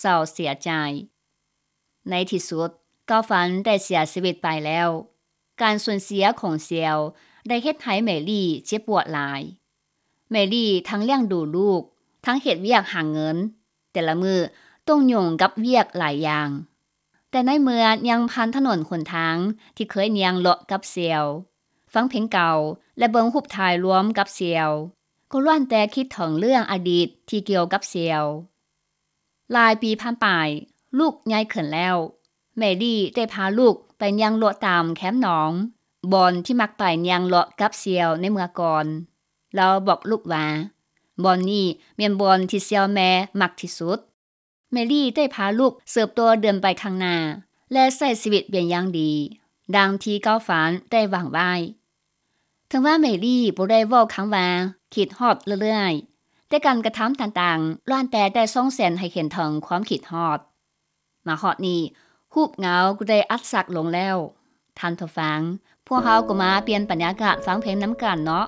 ເສົ້າເສຍໃຈ. ໃນທີ່ສຸດ ເກົ້າຝັນໄດ້ເສຍຊີວິດໄປແລ້ວ. ການສູນເສຍຂອງເຊວໄດ້ເຮັດໃຫ້ແມຣີເຈັບປວດຫຼາຍ. ແມຣີທັງລ້ຽງດູລູກ, ທັງເຮັດວຽກຫາເງິນ, ແຕ່ລະມື້ຕ້ອງຫຍຸ້ງກັບວຽກຫຼາຍຢ່າງ. ແຕ່ໃນເມື່ອຍ່າງຜ່ານຖະໜົນຫົນທາງທີ່ເຄີຍຍ່າງເລາະກັບເຊວ, ຟັງເພງເກົ່າ ແລະ ເບິ່ງຮູບຖ່າຍລວມກັບເຊວ, ກໍລ້ວນແຕ່ຄິດເຖິງເລື່ອງອະດີດທີ່ກ່ຽວກັບເຊວ. ຫຼາຍປີຜ່ານໄປ, ລູກໃຫຍ່ຂຶ້ນແລ້ວ. ແມຣີໄດ້ພາລູກໄປຍ່າງເລາະຕາມແຄມໜອງ, ບ່ອນທີ່ມັກໄປຍ່າງເລາະກັບເຊວໃນເມື່ອກ່ອນ. ລາວບອກລູກວ່າ, ບ່ອນນີ້ແມ່ນບ່ອນທີ່ເຊວແມ່ມັກທີ່ສຸດ. ແມຣີໄດ້ພາລູກເຕີບໂຕເດີນໄປຂ້າງໜ້າ ແລະ ໃຊ້ຊີວິດເປັນຢ່າງດີ, ດັ່ງທີ່ເກົ້າຝັນໄດ້ຫວັງໄວ້. ເຖິງວ່າແມຣີບໍ່ໄດ້ເວົ້າຄຳວ່າຄິດຮອດເລື້ອຍໆ, ແຕ່ການກະທຳຕ່າງໆ ລ້ວນແຕ່ໄດ້ສົ່ງເສັນໃຫ້ເຫັນເຖິງຄວາມຄິດຮອດ. ມາຮອດນີ້, ຮູບເງົາກໍໄດ້ອັດສັກລົງແລ້ວ. ທ່ານຜູ້ຟັງ, ພວກເຮົາກໍມາປ່ຽນບັນຍາກາດຟັງເພງນຳກັນເນາະ.